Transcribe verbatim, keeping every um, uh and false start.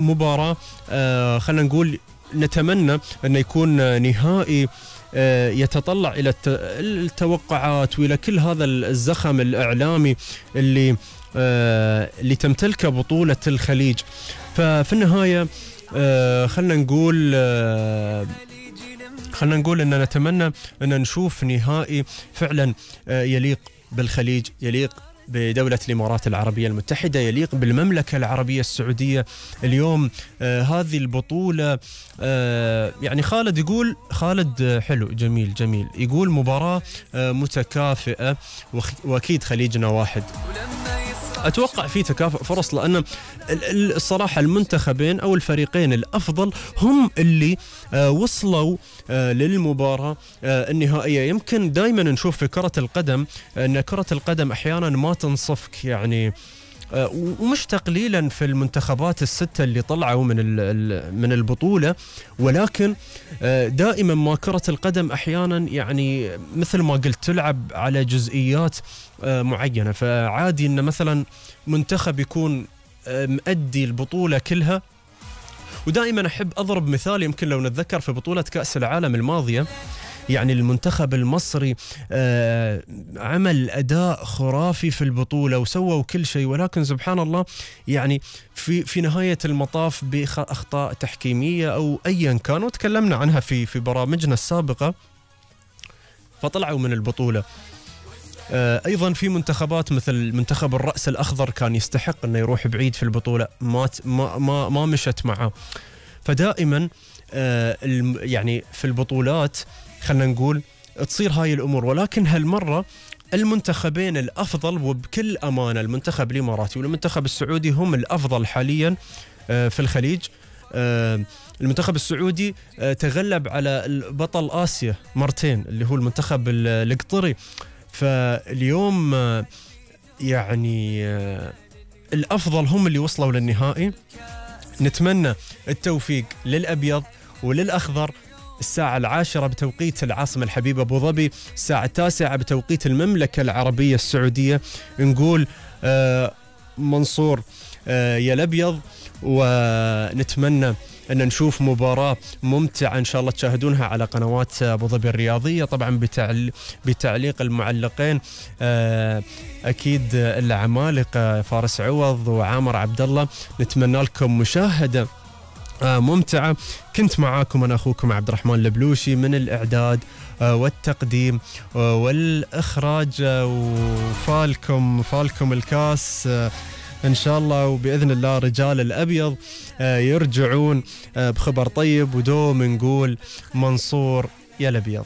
مباراة آه خلينا نقول نتمنى أن يكون نهائي آه يتطلع إلى التوقعات وإلى كل هذا الزخم الإعلامي اللي آه اللي تمتلكه بطولة الخليج. ففي النهاية آه خلينا نقول آه خلينا نقول أن نتمنى أن نشوف نهائي فعلا آه يليق بالخليج، يليق بدولة الإمارات العربية المتحدة، يليق بالمملكة العربية السعودية. اليوم آه هذه البطولة آه يعني خالد يقول خالد حلو جميل جميل يقول مباراة آه متكافئة، وأكيد خليجنا واحد. أتوقع في تكافؤ فرص، لأن الصراحة المنتخبين أو الفريقين الأفضل هم اللي آه وصلوا آه للمباراة آه النهائية. يمكن دائما نشوف في كرة القدم أن كرة القدم أحيانا ما تنصفك، يعني آه ومش تقليلا في المنتخبات الستة اللي طلعوا من من البطولة، ولكن آه دائما ما كرة القدم أحيانا يعني مثل ما قلت تلعب على جزئيات آه معينة. فعادي أن مثلا منتخب يكون آه مؤدي البطولة كلها. ودائما أحب أضرب مثال، يمكن لو نتذكر في بطولة كأس العالم الماضية، يعني المنتخب المصري آه عمل أداء خرافي في البطولة وسووا كل شيء، ولكن سبحان الله يعني في في نهاية المطاف بأخطاء تحكيمية أو أيا كان، وتكلمنا عنها في في برامجنا السابقة، فطلعوا من البطولة. آه أيضا في منتخبات مثل منتخب الرأس الأخضر كان يستحق أنه يروح بعيد في البطولة، ما ما ما, ما مشت معه. فدائما آه يعني في البطولات خلنا نقول تصير هاي الأمور، ولكن هالمرة المنتخبين الأفضل وبكل أمانة المنتخب الإماراتي والمنتخب السعودي هم الأفضل حاليا في الخليج. المنتخب السعودي تغلب على بطل آسيا مرتين اللي هو المنتخب القطري. فاليوم يعني الأفضل هم اللي وصلوا للنهائي. نتمنى التوفيق للأبيض وللأخضر. الساعة العاشرة بتوقيت العاصمة الحبيبة أبو ظبي، الساعة التاسعة بتوقيت المملكة العربية السعودية. نقول آه منصور آه يا الأبيض، ونتمنى أن نشوف مباراة ممتعة إن شاء الله تشاهدونها على قنوات أبو ظبي الرياضية، طبعا بتعل... بتعليق المعلقين آه أكيد العمالقة فارس عوض وعامر عبد الله. نتمنى لكم مشاهدة آه ممتعة. كنت معاكم أنا أخوكم عبد الرحمن البلوشي من الإعداد آه والتقديم آه والإخراج آه وفالكم فالكم الكاس آه إن شاء الله. وبإذن الله رجال الأبيض آه يرجعون آه بخبر طيب، ودوم نقول منصور يا الأبيض.